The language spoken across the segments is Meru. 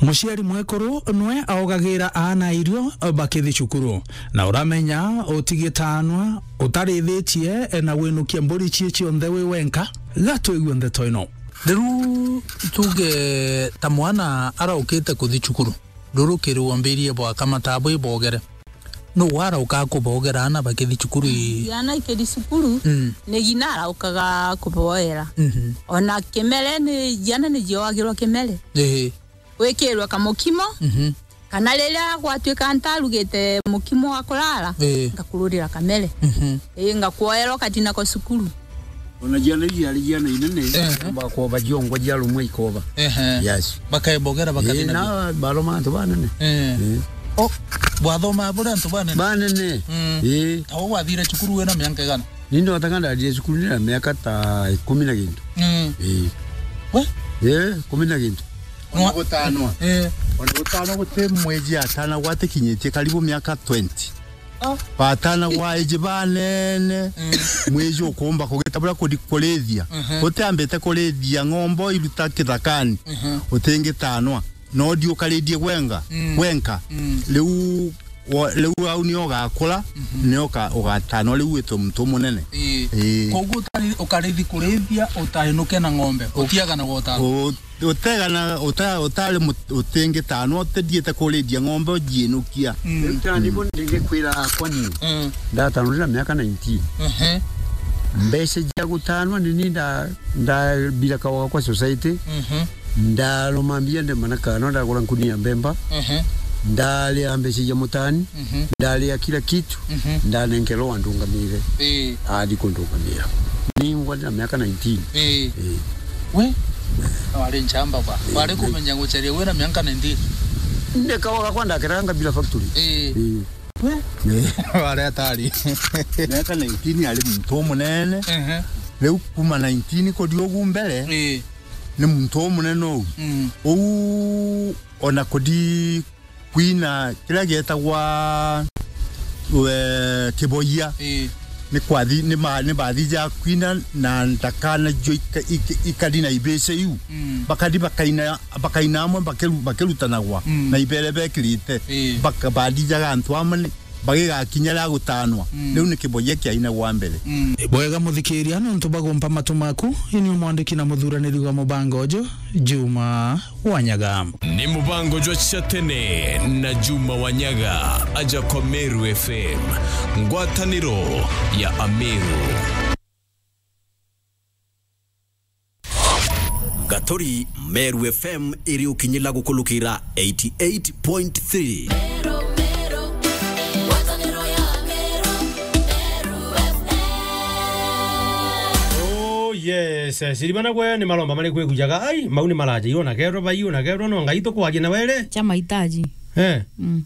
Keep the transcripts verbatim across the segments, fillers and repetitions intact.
Muciari mwekuru nwe aogagira aana irio bakithi cukuru, na uramenya utigitaanwa utarithitie na winukia mburi cie cionthe wi wenka? Ga twigue ndeto ino. Riu tuge ta mwana araukite kuthi cukuru, ruru kiri wambirie bwaka matabu ibogere. Nu warauka kubogera aana bakithi cukuru ii? Ciana ikithi cukuru, mm, ni ngina araukaga kuboera. Mhm. Ona kimere ni, ciana ni ciogagirwa kimere. Ii. Gwikirwe kamukimo, mhm, kana riria gwatuika ntarugite mukimo wa kurara, ii, ngakururira kamere. Mhm. Ii, ngakwoerwa ukatina kwa cukuru. Ona ciana iria ari ciana inene, ehe, bakwoba ciongwa cia rumwe ikoba. Ehe. Yes. Bakaibogera, ii, bakathina na baroma antu banene. Ii. Ii. O, bwathoma buri antu banene? Banene. Mm. Ii. Tau wathire cukuru wina mianka igana? Ni ndotaga ndathire cukuru ndina miaka ta ikumi na gintu. Mm. Ii. We? Ii, ikumi na gintu. Ona gutanwa. Ii. Ona gutanwa guti mwiji atanagwa atikinyitie karibu miaka twenty. Ah. Batanagwa iji banene, mm, mwiji ukumba kugita buria kuri-, kurithia. Mhm. Utiambite kurithia ng'ombe iruta kithakani, mhm, utingitanwa. No ndi ukarithie gwenga, mm, gwenka. Mm. Riu wo-, riu au nio ugakura, mhm, nio uka-, ugatanwa riu witwe muntu munene. Ii. Ii. Koguo utari-, ukarithi kurithia utainuke na ng'ombe, utiaga na gotano. U-, utegana, uta-, utari mut-, utingitanwa, utithiite kurithia ng'ombe ujiinukia. Mm. Riu tani bo ndingikwira akwa ni. Mm. Ndatanwa ndina miaka nineteen. Ehe. Mbeca cia gutanwa ni ni nda-, ndabira kawa kwa society. Mhm. Ndaruma mbia ndemana kana ndagura nkuni ya mbemba. Mhm. Ndaria mbeca cia mutani. Mhm. Ndaria kila kitu. Mhm. Ndanenkerwa andungamire. Ii. Athi kundungamira. Ningwa ndina miaka nineteen. Ii. Ii. We? Wari nchamba ba. Ii. Wari kumenya gucaria wina miaka nineteen? Ndekawa gakwa ndakeranga bila factory. Ii. Ii. We? Ii. Wari atari. Miaka nineteen ari muntu umunene. Ehe. Riu kuma nineteen kuthi ugu mbere, ii, ni muntu umunene uu. Mm. Uu ona kuthi kwina kiria gietagwa, we, kiboia. Ii. Ni kwathi, ni ma-, ni bathija kwina na ndakana jo ika-, ika-, ikari na ibese iu. Mm. Bakathi bakaina, bakaina amwe bakiru-, bakirutanagwa, mm, na ibere bekirite. Ii. Baka-, bathijaga antu amwe ni, bagigakinya ria gutanwa. Mm. Riu ni kiboia kiainagwa mbere. Mm. Ni bwega muthikiria, nontu bagumpa matu maku, ini umwandiki na muthuraniri wa mubango uju, Juma Wanyaga. Ni mubango jwa cia tene na Juma Wanyaga, aja kwa Meru F M, ngwataniro ya Ameru. Gaturi, Meru F M iri ukinyila gukulukira eighty eight point three. Meru, Meru, ngwataniro ya Meru, Meru F M. Oh, yes. Siribana gwe ni maromba mari kwigujaga. Ai, mau ni maraja. Iyo na kerwa bai, iyo na kerwa no ngai tukwagia na were. Cha mahitaji. Eh. Mm.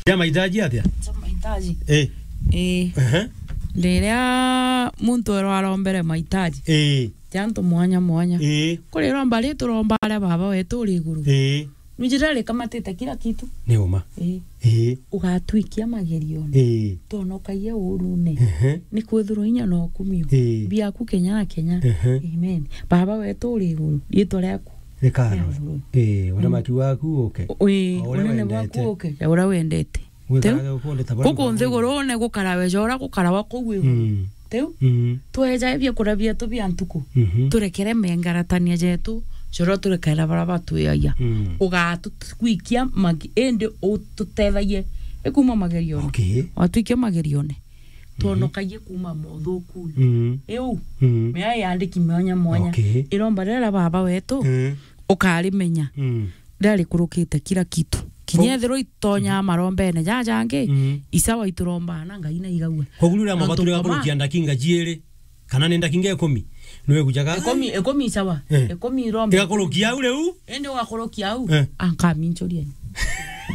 Cha mahitaji atia? Cha mahitaji. Eh. Eh. Ehe. Riria muntu erwa arombere mahitaji. Eh. Ti antu mwanya mwanya. Ii. Kuri romba ri turomba aria Baba wetu uri iguru. Ii. Nujira rikamatite kila kitu. Ni uma. Ii. Ii. Ugatwikia magerione. Ii. Tonokagia urune. Ehe. Ni kwithirwa inya na ukumio. Ii. Biaku kenya na kenya. Ehe. Amen. Baba wetu uri iguru, riitwa riaku rikarorwe. Ii, uthamaki waku uke. Ii, o uria unene wendete. Bwaku uke, ja uria wendete. Gwikara gukundu ta buria guku nthigurune gukarawe ja uria gukarawa kuu iguru. Mm. Riu, mm, tweja biakuria bietu bia ntuku, mhm, turekere mengaratania jetu, ja uria turekera baria batwiagia. Mm. Ugatutwikia magi-, indi ututethagie ikuma magerione. Okay. Watwikia magerione, mhm, twonokagie kuma mothukune. Mm. Iu, mm, mea yandiki mwanya mwanya. Okay. Iromba riria Baba wetu, mm, ukarimenya. Mm. Riria rikurukite kila kitu. Kinya ethirwa itonya marombene jajangi, mm, isawa iturombaa na Ngai na igagua. Koguo riria mabatu igakurukia ndakinga jiiri, kana ni ndakinga ikumi, niwe gujaga? Ikumi, ikumi isawa. Eh. Ikumi iromba. Igakurukia au riu? Indi ugakurukia au. Eh. Ankaminchuria.